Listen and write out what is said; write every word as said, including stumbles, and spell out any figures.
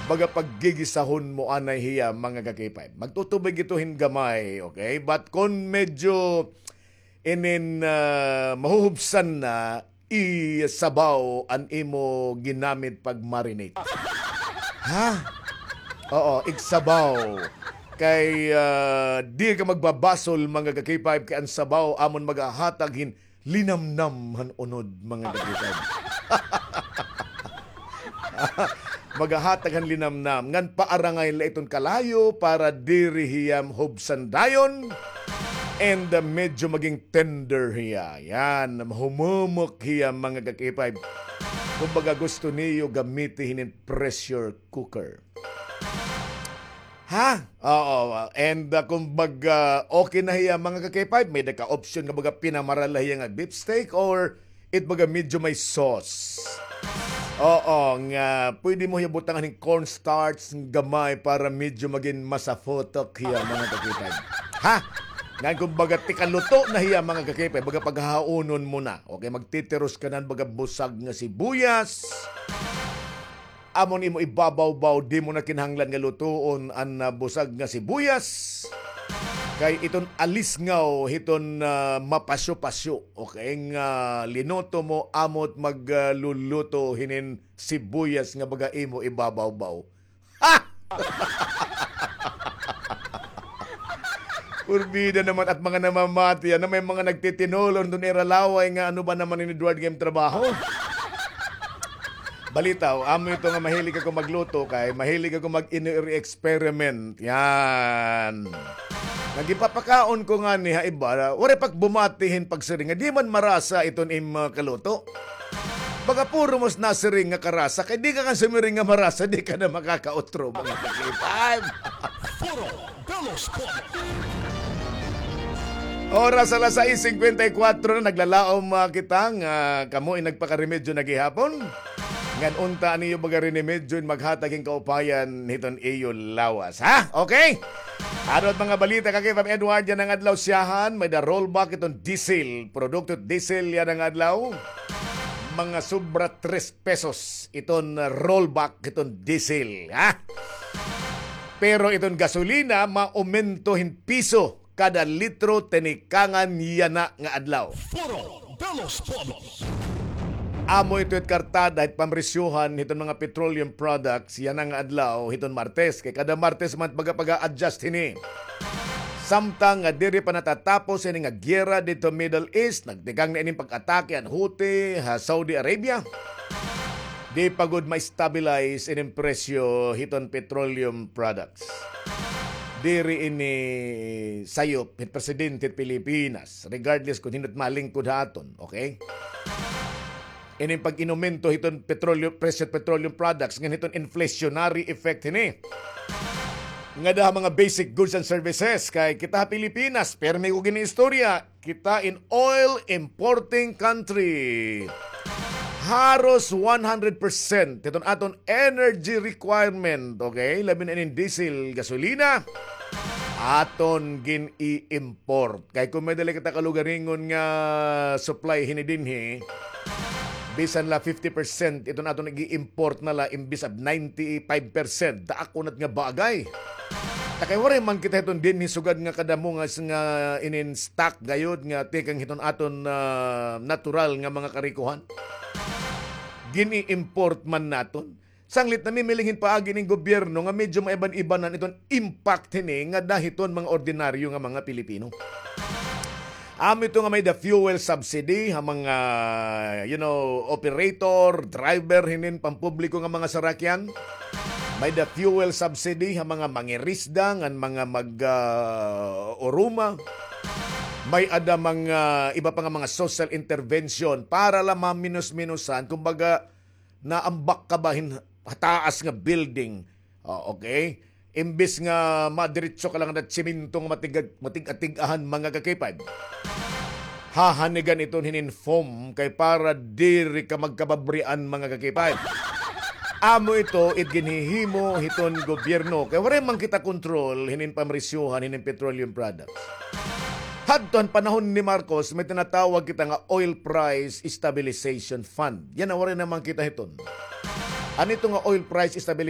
baga paggigisahon mo anay hiya, mga ka-K five. Magtutubig ito hin gamay, okay? But kon medyo inin, ah, mahuhubsan na, isabaw an imo ginamit pag-marinate. Ha? Oo, igsabaw. Kay, ah, di ka magbabasol, mga ka-K five, kay an sabaw amon magahatag hin linamnam han unod, mga ka-K five. Magahatag han linamnam. Ngan paarangay la iton kalayo para diri hiya hubsan dayon. And, uh, medyo maging tender hiya. Yan, mahumumok hiya, mga ka-K five. Kumbaga, gusto niyo gamiti hinin pressure cooker. Ha? Oo. And, uh, kumbaga, okay na hiya, mga ka-K five. May da ka option nga baga pinamara la hiya nga beef steak or it baga medyo may sauce. Oo, nga pwede mo hiya butangan hin cornstarch gamay para medyo magin masafotok hiya, mga ka-K five. Ha? Ngan kumbaga, tikaluto na hiya, mga ka-K five. Baga paghahaunon mo na. Okay, magtitiros ka nan baga busag nga sibuyas. Amon imo ibabawbaw, di mo na kinahanglan nga lutoon an, ah, busag nga sibuyas. Kay iton alisngaw hiton, ah, mapasyo-pasyo, okay, nga linuto mo, amo it magluluto hinin sibuyas nga baga imo ibabawbaw. Ha! Purbida naman at mga namamati, ano, may mga nagtitinolon doon, ira laway nga, ano ba naman ini, Edward, nga im trabaho? Balitaw, amo ito nga mahilig ako magluto kay mahilig ako mag-ino-experiment. Yan. Nagipapakaon ko ngani ha iba, waray pa ak bumati hin pagsiring nga di man marasa iton im, ah, kaluto. Baga puro mas nasiring nga karasa, kay di ka kan sumiring nga marasa, di ka na makakautro, mga ka-K five. Puro Belos Polo. Oras alas sais singkwenta y kwatro na, naglalaom, ah, kita nga kamo in nagpakaremedyo na gihapon. Ngan unta an iyo baga rinemedyo in maghatag hin kaupayan hiton iyo lawas, ha? Okay? Ano it mga balita, ka-K five Edward, yana nga adlaw siyahan, may-ada rollback iton diesel, produkto diesel yana nga adlaw. Mga sobra tres pesos iton rollback iton diesel, ha? Pero iton gasolina, maumento hin piso kada litro tinikangan yana nga adlaw. Foro de los Pueblos. Amo ito it kartada hit pamresyohan hiton mga petroleum products yana nga adlaw hiton Martes. Kay kada Martes man baga paga-adjust hini. Samtang nga diri pa natatapos ini nga giyera didto Middle East, nagtikang na ining pag-atake han Houthi ha Saudi Arabia. Di pa gud ma-stabilize ining presyo hiton petroleum products. Diri ini sayop hit presidente hit Pilipinas, regardless kon hin-o it malingkod ha aton, okay? Ining pag-inumento hiton petroleum, presyo hit petroleum products, ngan hiton inflationary effect hini ngada ha mga basic goods and services. Kay kita ha Pilipinas, pirmi ko gin-iistorya, kita in oil importing country. Haros one hundred percent hiton aton energy requirement, okay? Labi na ining diesel, gasolina, aton gin-i-import. Kay kon may-ada la kita kalugaringon nga supply hini dinhi, bisan la fifty percent iton aton ig-i-import na la imbis of ninety-five percent. Daak unat nga bagay. Ta kay waray man kita hiton dinhi sugad nga kadamo nga, nga inin stock gayod nga tikang hiton aton, ah, natural nga mga karikohan. Gin-i-import man naton. Sanglit namimiling hin paagi ning gobyerno nga medyo maiban-ibanan iton impact hini ngada hiton mga ordinaryo nga mga Pilipino. Amo ito nga may-ada fuel subsidy ha mga, you know, operator, driver hinin pampubliko nga mga sarakyan. May-ada fuel subsidy ha mga mangirisda ngan mga mag, ah, uruma. May-ada mga iba pa nga mga social intervention para la maminus-minusan, kumbaga, naambak ka ba hin taas nga building? O, okay? Imbis nga madiretso ka la ngada tsimento nga matig-, matig-atig-ahan, mga ka-K five. Hahanigan iton hinin foam kay para diri ka magkababrian, mga ka-K five. Amo ito it ginhihimo hiton gobyerno. Kay waray man kita kontrol hinin pamresyohan hinin petroleum products. Hadto han panahon ni Marcos, may tinatawag kita nga oil price stabilization fund. Yana, waray na man kita hiton. An ito nga oil price stabilization